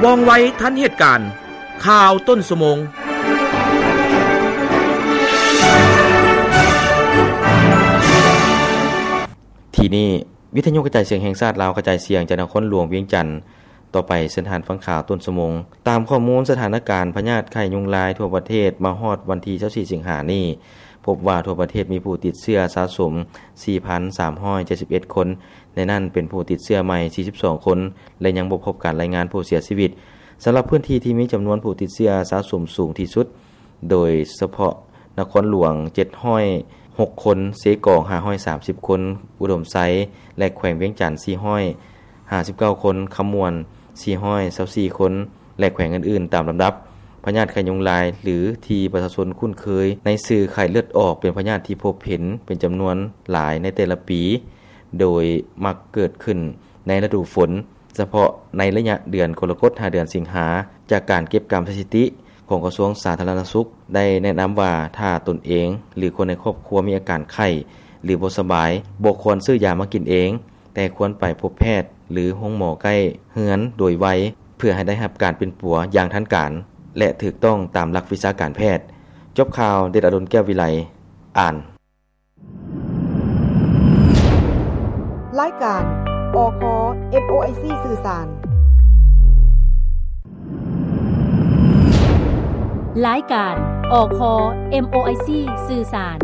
ວ່ອງໄວທັນເຫດການ ຂ່າວຕົ້ນຊົ່ວໂມງ. ທີ່ນີ້ ວິທະຍຸກະຈາຍສຽງແຫ່ງຊາດລາວ ກະຈາຍສຽງຈາກນະຄອນຫຼວງວຽງຈັນ. ຕໍ່ໄປເຊີນທ່ານຟັງຂ່າວຕົ້ນຊົ່ວໂມງ. ຕາມຂໍ້ມູນສະຖານະການພະຍາດໄຂ້ຍຸງລາຍທົ່ວປະເທດ ມາຮອດວັນທີຊາວສີ່ ສິງຫານີ້ ພົບວ່າທົ່ວປະເທດມີຜູ້ຕິດເຊື້ອສະສົມ ສີ່ພັນສາມຮ້ອຍເຈັດສິບເອັດ ຄົນ, ໃນນັ້ນເປັນຜູ້ຕິດເຊື້ອໃໝ່ ສີ່ສິບສອງ ຄົນ ແລະ ຍັງບໍ່ພົບການລາຍງານຜູ້ເສຍຊີວິດ. ສຳລັບພື້ນທີ່ທີ່ມີຈຳນວນຜູ້ຕິດເຊື້ອສະສົມສູງທີ່ສຸດ ໂດຍສະເພາະນະຄອນຫຼວງ ເຈັດຮ້ອຍຫົກ ຄົນ, ເຊກອງ ຫ້າຮ້ອຍສາມສິບ ຄົນ, ອຸດົມໄຊ ແລະ ແຂວງວຽງຈັນ ສີ່ຮ້ອຍຫ້າສິບເກົ້າ ຄົນ, ຄຳມ່ວນ ສີ່ຮ້ອຍຊາວສີ່ ຄົນ ແລະ ແຂວງອື່ນໆຕາມລຳດັບ. ພະຍາດໄຂ້ຍຸງລາຍ ຫຼື ທີ່ປະຊາຊົນຄຸ້ນເຄີຍໃນຊື່ໄຂ້ເລືອດອອກ ເປັນພະຍາດທີ່ພົບເຫັນເປັນຈຳນວນຫຼາຍໃນແຕ່ລະປີ ໂດຍມັກເກີດຂຶ້ນໃນລະດູຝົນ, ສະເພາະໃນໄລຍະເດືອນກໍລະກົດ ຫາເດືອນສິງຫາ. ຈາກການເກັບກຳສະຖິຕິຂອງກະຊວງສາທາລະນະສຸກ ໄດ້ແນະນຳວ່າ ຖ້າຕົນເອງ ຫຼື ຄົນໃນຄອບຄົວມີອາການໄຂ້ ຫຼື ບໍ່ສະບາຍ, ບໍ່ຄວນຊື້ຢາມາກິນເອງ, ແຕ່ຄວນໄປພົບແພດ ຫຼື ໂຮງໝໍໃກ້ເຮືອນໂດຍໄວ ເພື່ອໃຫ້ໄດ້ຮັບການປິ່ນປົວຢ່າງທັນການ ແລະ ຖືກຕ້ອງຕາມຫຼັກວິຊາການແພດ. ຈົບຂ່າວ ເດດອະດົນ ແກ້ວວິໄລ ອ່ານ. ລາຍການ ອຄ ເອັມໂອໄອຊີ ສື່ສານ. ລາຍການ ອຄ ເອັມໂອໄອຊີ ສື່ສານ.